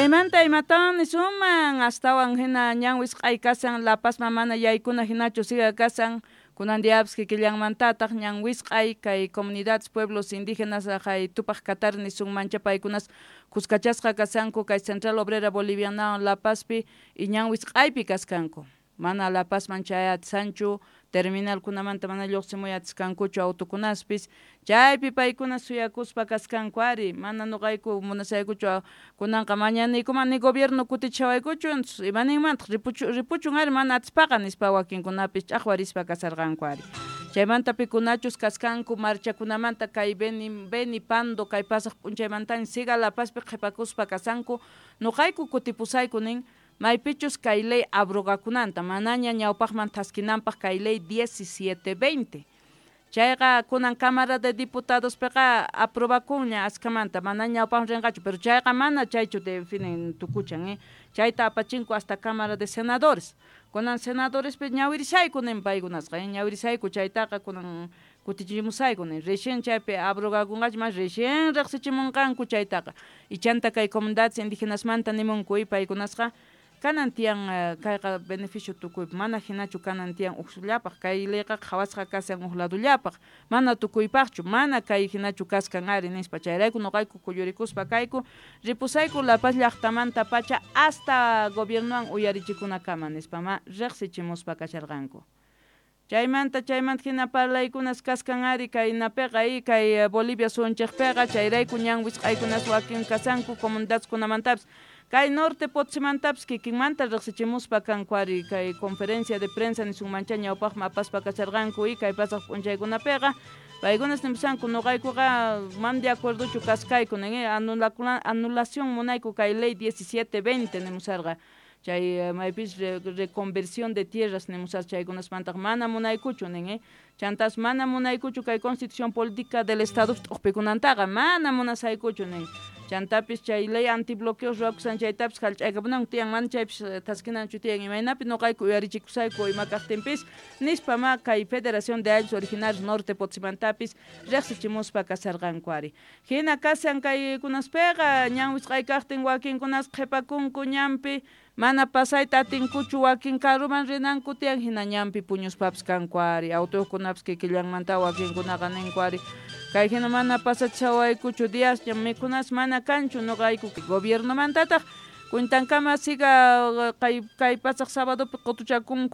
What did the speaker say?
Chaymanta imatawan nisunman astawan hina ñan wisq'ay kashan La Pazman mana yaykuna hinachu siga kashan kunan diapis kikillanmantataq ñan wisq'ay kay comunidades pueblos indígenas haqay Tupaq Katari nisunmancha paykunas kuskachasqa kashanku kay Central Obrera Bolivianawan La Pazpi y ñan wisq'aypi kaskanku mana La Pazman chayatishanchu terminalkunamanta mana lluqsimuy atiskankuchu autokunaspis chaypi paykuna suyakuspa kaskanku ari mana nuqayku munasaykuchu kunanqa mañaniykuman ni gobierno kutichawaykuchu imaninmantaq ripuchun ari mana atispaqa nispa wakinkunapis ch'aqwarispa kasarqanku ari chaymanta pikunachus kaskanku marchakunamanta kay Beni Pando kay pasaq p'unchaymantaña siga La Pazpi qhipakuspa kasanku nuqayku kutipusayku nin maypichus kay ley abrogakunanta manaña ñawpaqman thaskinanpaq kay ley 1720 chayqa kunan Cámara de Diputadospiqa aprobakunña askamanta mana ñawpaqman rinqachu pero chayqa mana chaychu definen tukuchan chayta apachinku hasta Cámara de Senadores kunan senadorespi ñawirishayku nin paykunasqa ñawirishayku chaytaqa kunan kutichimusayku nin recién chaypi abrogakunqachu mas recién riqsichimunqanku chaytaqa ichanta kay comunidades indígenasmanta nimunku paykunasqa kanan tiyan kayqa beneficio tukuypaq mana hinachu kanan tiyan uqsullapaq kay leyqa qhawasqa kashan huk ladollapaq mana tukuypaqchu mana kay hinachu kaskan ari nispa chayrayku nuqayku kuyurikuspa kayku ripusayku La Paz llaqtamanta pacha hasta gobiernowan uyarichikunakama nispa ma riqsichimuspa kasharqanku. Chaymanta hina parlaykunas kaskan ari kaynapiqa kay Bolivia suyunchikpiqa chayrayku ñan wisq'aykunas wakin kasanku comunidadeskunamantapis kay norte Potosímantapis kikinmanta riqsichimuspa kanku ari kay conferencia de prensa nisunmancha ñawpaqman apaspa kasharqanku y kay pasaq p'unchaykunapiqa paykunas nimusanku nuqaykuqa man de acuerdochu kaskayku nin anulación munayku kay ley 1720 nimusarqa chay maypis reconversión de tierras nimusar chaykunasmantaq mana munaykuchu nin chantas mana munaykuchu kay constitución política del estado t'uqpikunantaqa mana munasaykuchu nin chantapis chay ley antibloqueos ruwakusan chaytapis hallch'aykapunanku tiyan mana chaypis thaskinanchu tiyan imaynapi nuqayku uyarichikusayku ima kaqtinpis nispa ma kay Federación de Ayllus Originarios Norte Potosímantapis riqsichimuspa kasarqanku ari hina kashan kaykunaspiqa ñan wisq'ay kaqtin wakinkunas qhipakunku ñanpi mana pasayta atinkuchu wakin karuman rinanku tiyan hina ñanpi puñuspapis kanku ari autokunapis kikillanmanta wakinkunaqa ninku ari kay hina mana pasachawaykuchu diasña mikunas mana kanchu nuqayku gobiernomantataq cuentankama siga kay pasaq sabadopi qutuchakunku.